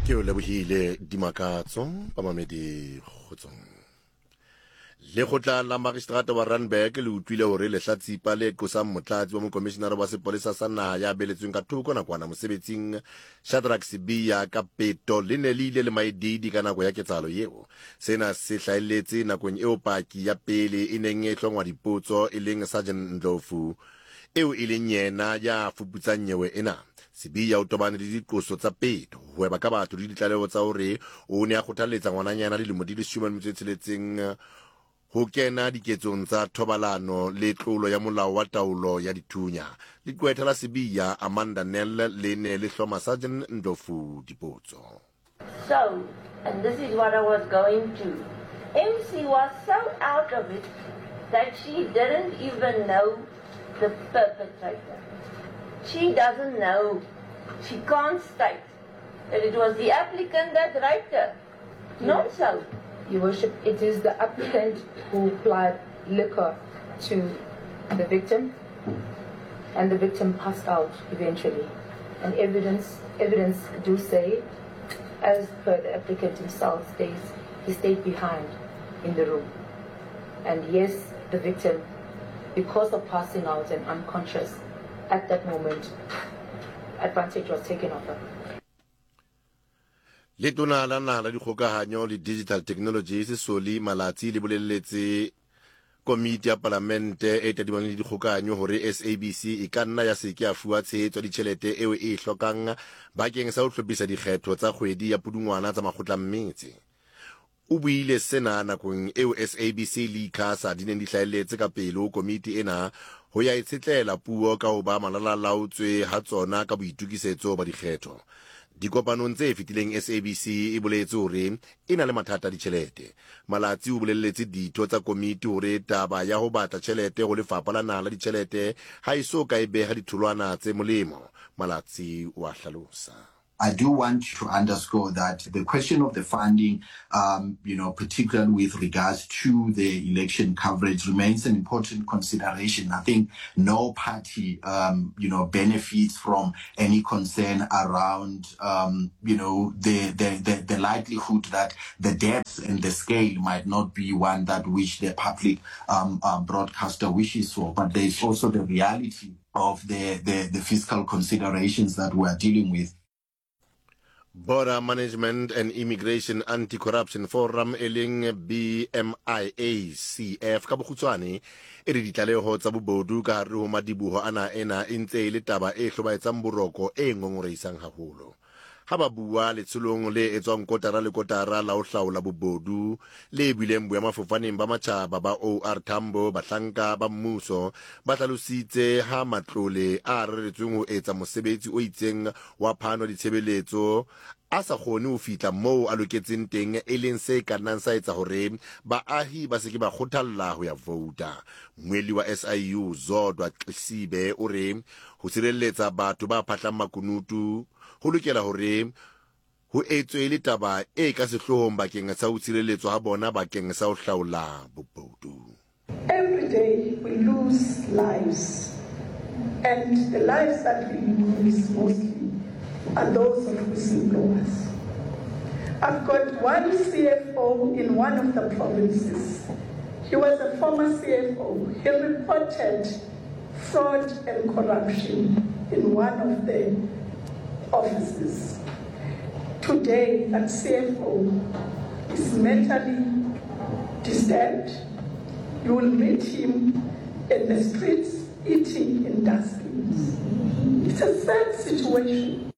Ke o lebohile Dimakatso, bamamedi kgotsong. Lekgotla la Magistrata wa Randburg le utlwile hore lehlatsipa le qosang motlatsi wa mokomishinara wa sepolesa sa naha ya beletsweng ka thoko nakwana mosebetsing Shadrack Sibiya ka peto le ne le ile le maedidi ka nako ya ketsahalo eo. Sena se hlahelletse nakong eo paki ya pele e neng e hlongwa dipotso e leng Sergeant Ndlovu eo e leng yena ya fuputsang nyewe ena. Sibiya o tobane le diqoso tsa peto, ho hweba ka batho le ditlaleho tsa hore o ne a kgothalletsa ngwananyana dilemo di 16 ho kena diketsong tsa thobalano le tlolo ya molao wa taolo ya dithunya. Leqwetha la Sibiya, Amanda Nel, le ne le hloma Sergeant Ndlovu dipotso. So, and this is what I was going to, MC was so out of it that she didn't even know the perpetrator. She doesn't know. She can't state that it was the applicant that raped her. Not so. Your Worship, it is the applicant who applied liquor to the victim, and the victim passed out eventually. And evidence, evidence do say, as per the applicant himself states, he stayed behind in the room. And yes, the victim, because of passing out and unconscious at that moment, advantage was taken of her. Letona la Naha la Dikgokahanyo le Digital Technologies Solly Malatsi le boleletse komiti ya palamente e tadimaneng le dikgokahanyo hore SABC e ka nna ya se ke ya fuwa tshehetso ya ditjhelete eo e e hlokang bakeng sa ho hlophisa dikgetho tsa kgwedi ya Pudungwana tsa makgotla a metse. O buile sena nakong eo SABC le ICASA di neng di hlahelletse ka pele ho komiti ena ho ya e tshetlela puo ka ho ba malalalaotswe ha tsona ka boitokisetso ba dikgetho. Dikopanong tse fetileng SABC e boletse hore e na le mathata a ditjhelete. Malatsi o bolelletse ditho tsa komiti hore taba ya ho batla tjhelete ho lefapha la naha la ditjhelete ha e so ka e beha ditholwana tse molemo. Malatsi o a hlalosa. I do want to underscore that the question of the funding, um, you know, particularly with regards to the election coverage, remains an important consideration. I think no party, um, you know, benefits from any concern around, um, you know, the, the, the, the likelihood that the depth and the scale might not be one that which the public um, uh, broadcaster wishes for. But there is also the reality of the, the, the fiscal considerations that we are dealing with. Border Management and Immigration Anti-Corruption Forum e leng BMIACF ka bokgutshwane e re ditlaleho tsa bobodu ka hare ho madiboho a naha ena e ntse e le taba e hlobaetsang boroko e ngongorehisang haholo. Ha ba bua letsholong le etswang kotara le kotara la ho hlaola bobodu le buileng boemafofaneng ba matjhaba ba OR Tambo, bahlanka ba mmuso ba hlalositse ha matlole a reretsweng ho etsa mosebetsi o itseng wa phano ya ditshebeletso a sa kgone ho fihla moo a loketseng teng e leng se ka nnang sa etsa hore baahi ba se ke ba kgothalla ho ya vouta. Mmuelli wa SIU Zodwa Xesibe o re ho sireletsa batho ba phahlang makunutu ho lokela hore ho etswe le taba e ka sehloohong bakeng sa ho tshireletswa ha bona bakeng sa ho hlaola bobodu. Every day we lose lives, and the lives that we lose mostly are those of whistleblowers. I've got one CFO in one of the provinces. He was a former CFO. He reported fraud and corruption in one of the offices. Today, that CFO is mentally disturbed. You will meet him in the streets eating in dustbins. It's a sad situation.